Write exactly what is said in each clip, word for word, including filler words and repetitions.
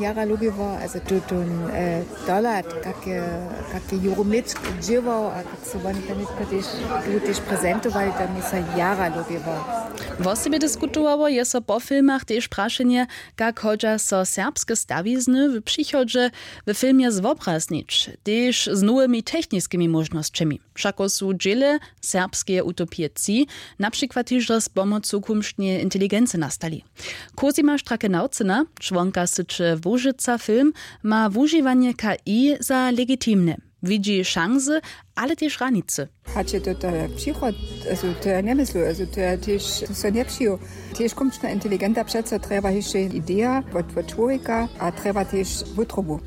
Jara lubiło, also tu ten dolat, kak je juromit dźěłał a kak so woni tam nětko tež tu tež prezentowali, to mi so jara lubiło. Wosebje diskutowało je so po filmach tež prašenje, kak hodźa so serbske stawizny w přichodźe w filmje zwobraznić, tež z nowymi techniskimi móžnosćemi. Wšako su dźěle serbskeje utopije tři na přikład hižo z pomocu kumšneje inteligency nastali. Cosima Stracke-Naucyna, čłonka syće Łužica Film, ma wužiwanje K I za legitimne. Widźi šansy, ale tež hranicy. Hač je to to je přichod, also to ja njemyslu, also to je tež, to so njepřijo. Tež kumčna inteligenta přeco trjeba hišće ideja wot wot čłowjeka a trjeba tež wutrobu.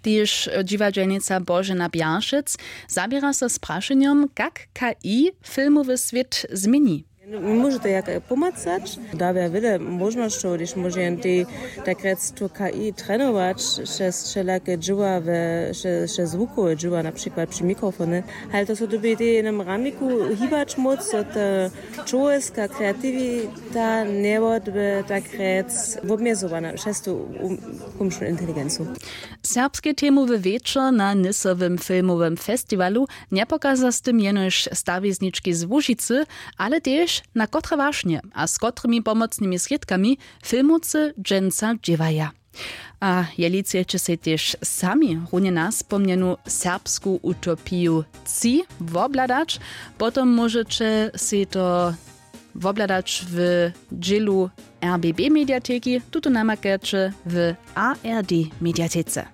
Tež dźiwadźelnica Božena Bjaršec zaběra so z prašenjom, kak K I filmowy swět změni. Móže to jak pomacać, dawja wjele móžnosćow, hdyž móže jen tej tak rjec tu K I trenować přez wšelake dźěła we přez zwukowe dźěła na přikład při mikrofony, ale to so dyrbi tej w jenym ramiku hibać móc, zo ta čłowjeska kreatiwita njewodby tak rjec wobmjezowana přez tu kumšnu inteligencu. Serbske temowy wječor na nysowym filmowym festiwalu njepokaza z tym jenož stawiznički z Łužicy, ale tež na kotre wašnje a z kotrymi pomocnymi srědkami filmowcy dźensa dźěłaja. A jeli chceće sej tež sami runje naspomnjenu serbsku utopiju tři wobhladać, potom móžeće sej to wobhladać w dźělu R B B mediateki, tuto namakaće w A R D mediatece.